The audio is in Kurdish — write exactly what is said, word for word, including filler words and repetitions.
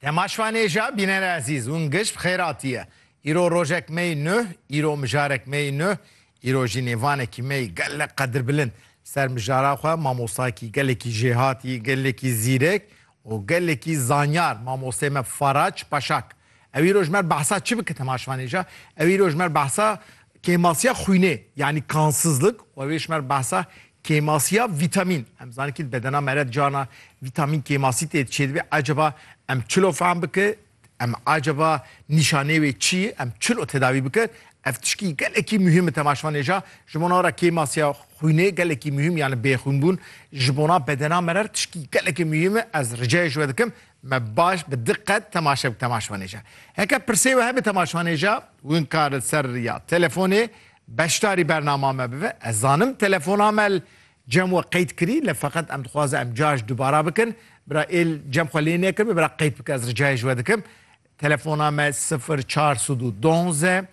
Temaşvanêja bînerê ezîz, hûn giş bi xêr hatiye. Îro rojek me yê nuh, îro mijarek me yê nuh, îro jî nêvanekî me yê gelek qedirbilind ser mijara xwe, mamostakî gelekî jêhatî, gelekî zîrek û gelekî zanyar, mamostê me Faraç Paşak. Ew îro ji me re behsa çi bike temaşvanêja? Ew îro ji me re behsa kêmasiya xwînê, yanî kansizlik, û ew ê ji me re behsa kêmasiya vîtamîn. Em zanin ki bedena me re carna vîtamîn kêmasî tê çêdibe. Eceba em çilo fehm bike, em eceba nîşanê wê çi ye, em çilo tedawî bike. Ev tişkî gelekî muhîm e temaşvanêja. Ji bona re kêmasiya xwînê gelekî muhîm, yani bêxwînbûn ji bona bedena me re tişkî gelekî muhîm e. Ez ricayê ji we dikim, me baş bi diqet temaşe bik temaşvanêja. Heke pirsê we hebe temaşvanêja, win kar li ser ya telefonê beşdarî bernama me bibe. Ez zanim telefona me li cem we qeyd kirî, lê feqet em dixwazin em car ji dubara bikin. Bira êl cem xwe lê nekiribe, bira qeyd bike, ez ricayê ji we dikim. Telefona me sifir çar sed û duwazdeh,